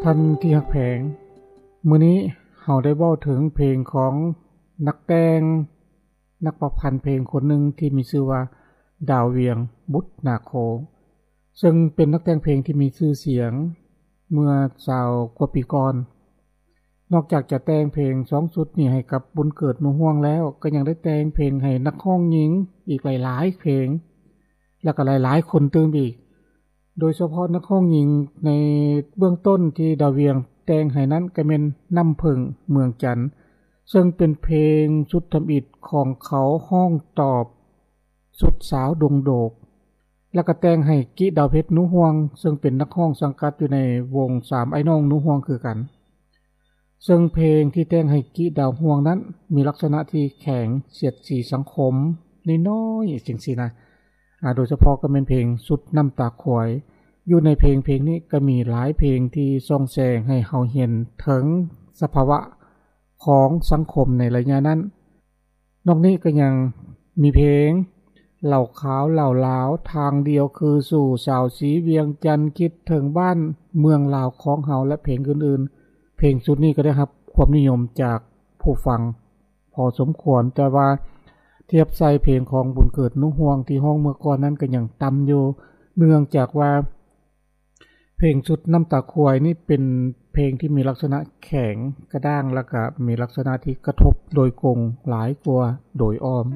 ທ່ານທີ່ຮັກແພງ, ມື້ນີ້ເຮົາໄດ້ເວົ້າເຖິງເພງຂອງນັກແຕ່ງ, ນັກປະພັນເພງຄົນໜຶ່ງທີ່ມີຊື່ວ່າ ດາວວຽງ ບຸດນາໂຄ, ເຊິ່ງເປັນນັກແຕ່ງເພງທີ່ມີຊື່ສຽງເມື່ອຊາວກວ່າປີກ່ອນ. ນອກຈາກຈະແຕ່ງເພງສອງຊຸດນີ້ໃຫ້ກັບບຸນເກີດ ໜູຮ່ວງ ແລ້ວ, ກໍຍັງໄດ້ແຕ່ງເພງໃຫ້ນັກຮ້ອງຍິງອີກຫຼາຍໆເພງ ແລະກໍຫຼາຍໆຄົນຕື່ມອີກ. ໂດຍສະເພາະນັກຮ້ອງຍິງໃນເບື້ອງຕົ້ນທີ່ດາວວຽງແຕ່ງໃຫ້ນັ້ນກໍແມ່ນ ນ້ຳເຜິ້ງ ເມືອງຈັນ, ເຊິ່ງເປັນເພງຊຸດທຳອິດຂອງເຂົາຮ້ອງຕອບຊຸດສາວດົງໂດກ, ແລ້ວກໍແຕ່ງໃຫ້ກິ ດາວເພັດ ໜູຮ່ວງ ເຊິ່ງເປັນນັກຮ້ອງສັງກັດຢູ່ໃນວົງສາມອ້າຍນ້ອງ ໜູຮ່ວງ ຄືກັນ. ເຊິ່ງເພງທີ່ແຕ່ງໃຫ້ກິ ດາວຮ່ວງ ນັ້ນມີລັກສະນະທີ່ແຂງສຽດສີສັງຄົມນ້ອຍໆ ຈັ່ງຊີ້ນະ, ອາ ໂດຍສະເພາະກໍແມ່ນເພງຊຸດນ້ຳຕາຄວາຍ. ຢູ່ໃນເພງເພງນີ້ກໍມີຫຼາຍເພງທີ່ສ່ອງແສງໃຫ້ເຮົາເຫັນເຖິງສະພາວະຂອງສັງຄົມໃນໄລຍະນັ້ນ. ນອກນີ້ກໍຍັງມີເພງ ເຫຼົ້າຂາວເຫຼົ້າລາວ, ທາງດຽວຄືສູ່, ສາວສີວຽງຈັນ, ຄິດເຖິງບ້ານເມືອງລາວຂອງເຮົາ ແລະເພງອື່ນໆ. ເພງຊຸດນີ້ກໍໄດ້ຮັບຄວາມນິຍົມຈາກຜູ້ຟັງພໍສົມຄວນ, ແຕ່ວ່າທຽບໃສ່ເພງຂອງບຸນເກີດ ໜູຮ່ວງ ທີ່ຮ້ອງເມື່ອກ່ອນນັ້ນກໍຍັງຕ່ຳຢູ່, ເນື່ອງຈາກວ່າ ເພງຊຸດນ້ຳຕາຄວາຍນີ້ເປັນເພງທີ່ມີລັກສະນະແຂງກະດ້າງ ແລ້ວກະມີລັກສະນະທີ່ກະທົບໂດຍກົງຫຼາຍກວ່າໂດຍອ້ອມ.